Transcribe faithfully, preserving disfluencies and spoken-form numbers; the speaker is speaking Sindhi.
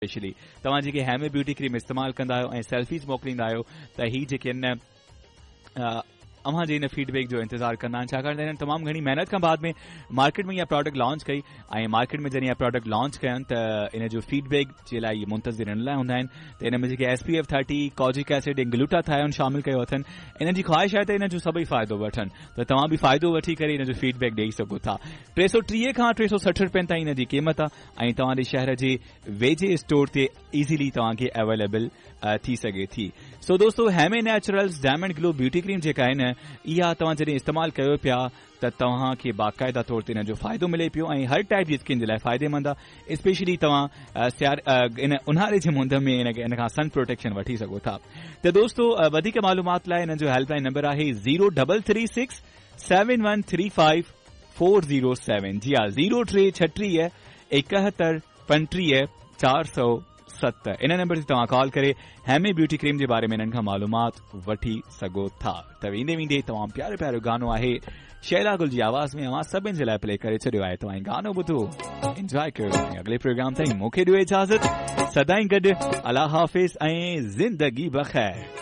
اسپيشلي توهان جيڪي هيمي بيوٽي ڪريم استعمال ڪندا آهيو ۽ سيلفيز موڪليندا آهيو ته هي جيڪي آهن اوهان جي ان فيڊ بيڪ جو انتظار ڪندا آهن، ڇاڪاڻ ته هنن تمام گهڻي محنت کان بعد ۾ مارڪيٽ ۾ اها پراڊڪٽ لانچ ڪئي ۽ مارڪيٽ ۾ جڏهن اها پراڊڪٽ لانچ ڪين ته ان جو فيڊ بيڪ جي لاء اهي منتظر ان لاء هوندا آهن ته ان ۾ جيڪي S P F thirty, kojic acid ۽ glutathione شامل ڪيو اٿن، انهن جي خواهش آهي ته ان جو سڀئي فائدو وٺن ته توهان به فائدو وٺي ڪري ان جو فيڊ بيڪ ڏيئي سگهو ٿا. ٽي سؤ ٽيهه کان ٽي سؤ سٺ روپين تائين ان جي قيمت آهي ۽ توهان جي شهر جي ويجهي اسٽور تي ايزيلي توهان کي اويليبل ٿي سگهي ٿي. سو دوستو، هيمي نيچرلز ڊائمنڊ گلو بيوٽي ڪريم جيڪا آهي نه، اها توهان جڏهن استعمال ڪيو پيا ته توهان کي باقاعده طور تي ان جو فائدو ملي پيو ۽ هر ٽائپ جي اسڪن جي لاء فائديمند آهي. اسپيشلي توهان سيار ان اونهاري جي مند ۾ ان کان سن پروٽيڪشن وٺي سگهو ٿا. ته دوستو، وڌيڪ معلومات لاء انهن جو هيلپ لائن نمبر آهي zero double three six seven one three five four zero seven. جي ها، زيرو ٽي ڇٽيهه ايڪهتر پنٽيهه چار سؤ ست. ان نمبر تي توهان ڪال ڪري هيمي بيوٽي ڪريم جي باري ۾ انهن کان معلومات وٺي سگهو ٿا. ته ويندي ويندي تمام پيارو پيارو گانو آهي شيلا گل جي آواز ۾ اوهان سڀني جي لاء پلي ڪري ڇڏيو آهي. توهان گانو ٻڌو، انجواء ڪيو ۽ اڳلي پروگرام تائين مون کي ڏيو اجازت. سدائين گڏ، الله حافظ ۽ زندگي بخير.